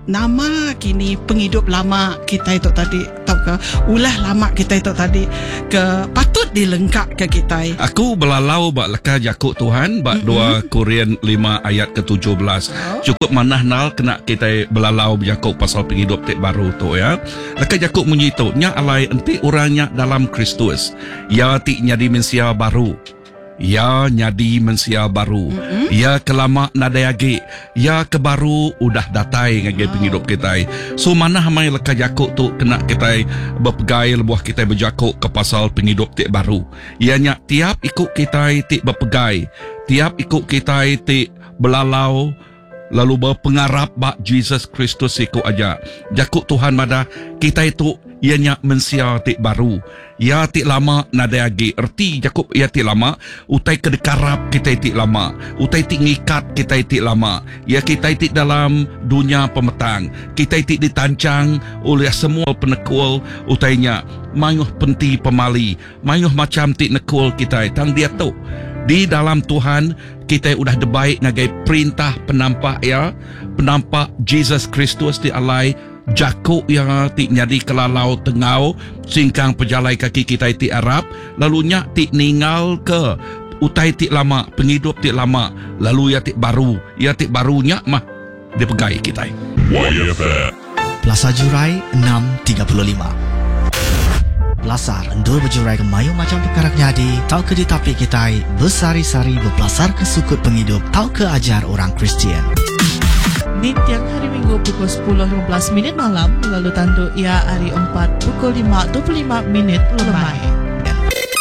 Nama kini pengidup lama kitai tu tadi tauka ulah lama kitai tu tadi ke patut dilengkaka kitai. Aku belalau ba leka jaku Tuhan ba dua Korin lima ayat ke 17. Chukup manah nal kena kitai belalau bejaku pasal pengidup ti baru tu ya. Leka jaku munyi tu nya alai enti orang nya dalam Kristus, iya ti nyadi mensia baru. Iya nyadi mensia baru. Iya ke lama nadai agi. Iya ke baru udah datai ngagai pengidup kitai. So manah amai leka jaku tu kena kitai bepegai lebuh kitai bejaku ke pasal pengidup ti baru. Iya nya tiap iku kitai ti bepegai, tiap iku kitai ti belalau lalu bepengarap ba Jesus Kristus siku aja. Jaku Tuhan madah, kitai tu iya nya mensia ti baru. Iya ti lama nadai agi. Reti jaku iya ti lama, utai ke dikarap kitai ti lama, utai ti ngikat kitai ti lama, iya kitai ti dalam dunya pemetang, kitai ti ditanchang ulih semua penekul utai nya, mayuh penti pemali, mayuh macham ti nekul kitai. Tang diatu, di dalam Tuhan, Kitai udah dibai ngagai perintah penampak Iya, penampak Jesus Kristus ti alai jaku Iya ti nyadi kelalau tenggau singkang pejalai kaki kitai ti arap, lalu nya ti ninggalka utai ti lama, pengidup ti lama, lalu iya ti baru, iya ti baru nya mah dipegai kitai. Pelasar Jurai 6:35. Pelasar endur bejuraika mayuh macham pekara ke nyadi tauka ditapi kitai besehari-sehari bepelasarka sukut pengidup tauka ajar orang Kristian. Ninting Hari Minggu pukul 10:15 minit malam lalu tandu iya hari Empat pukul 5:25 minit lemai.